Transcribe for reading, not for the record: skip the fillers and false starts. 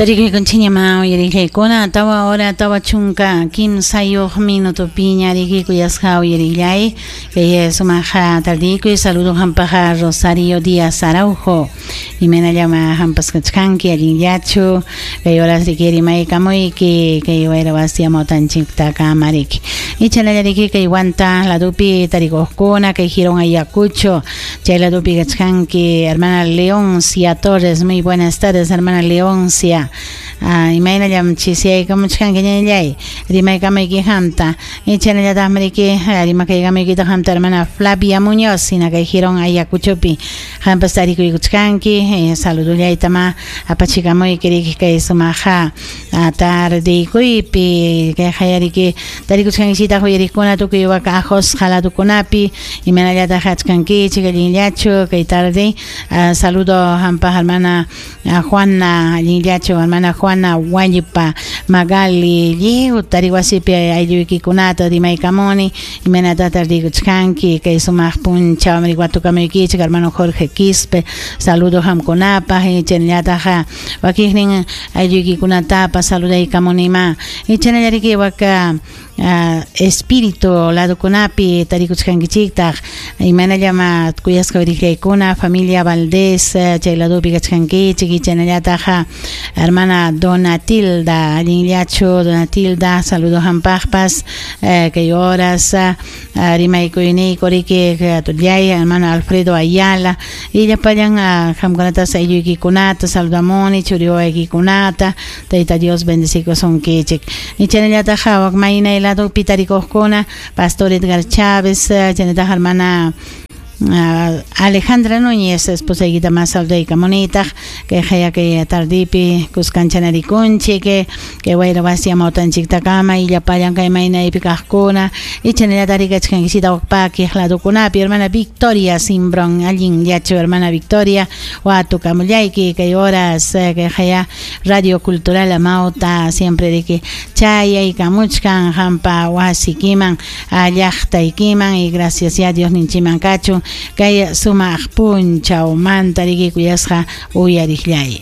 Tarikuykunchikñamá uyarillaykuna tawa hora 43 minutopiña riki kuyasqa uyarillay kay sumaq tardiykuy. Saludo hampaqa Rosario Díaz Araujo, imaynallama hampas kachkanki, allinllachu? Kay horas riki rimaykamuyki kay wayra wasi amawtanchiktakama riki. Ichanalla riki kay Huanta ladupi tarikuqkuna, kay Girón Ayacucho chay ladupi kachkanki, hermana Leoncia Torres, muy buenas tardes, hermana Leoncia. Imaynallam chisiyaykamuchkanki ñañallay, rimaykamayki hamta. Ichanallataqmi riki rimakaykamuykitaq hamta hermana Flavia Muñoz, hina kay Girón Ayacuchopi hampas tarikuykuchkanki, saludullaytama apachikamuyki riki kay sumaqa tardeykuypi. Kay hayariki tarikuchkankichitaq uyariqkuna tukuy waka ajosqa ladukunapi, imaynallataq achkankichik, allinllachu kay tarde? Saludo hampa hermana Juana, allinllachu hermana Juana Wallpa Magali, lliw tariwasipi aylluykikunata rimaykamuni, imaynata tardikuchkanki kay sumaq punchaw watukamuykichik. Hermano Jorge Quispe, saludo hamkunapaq, chaynallataq wakiqnin aylluykikunatapas saludaykamunima. Chanallariki waka espíritu ladukunapi tarikuchkankichiktaq, imaynallama kuyasqa uyariqllaykuna, familia Valdés chay ladupi kachkankichik. Chaynallataq hermana Donatilda, allinllachu Donatilda? Saludo hampaqpas kay horas rimaykuyniyku riki tullay hermano Alfredo Ayala y llapallan hamkunatas aylluykikunata saludamuni, churi wawaykikunata, Tayta Dios bendecikusunkichik. Chaynallataq wak maynay ladupi tarikuqkuna, Pastor Edgar Chávez, chaynallataq hermana Alejandra Núñez, esposaykita más saludaykamunitaq kay haya kay tardipi kuskanchanarikunchik kay wayra wasi amawtanchiktakama y llapallan kay maynaypi kaqkuna. Y chaynallataq rikachkankisita wak pakiq ladukunapi, hermana Victoria Simbron, allinllachu hermana Victoria? Watukamullayki kay horas kay haya Radio Cultural Amauta siempre riki chayaykamuchkan hampa wasikiman, llaqtaykiman, y gracias ya Dios ninchiman kachun kay sumaq punchawmanta riki kuyasqa uyariqllay.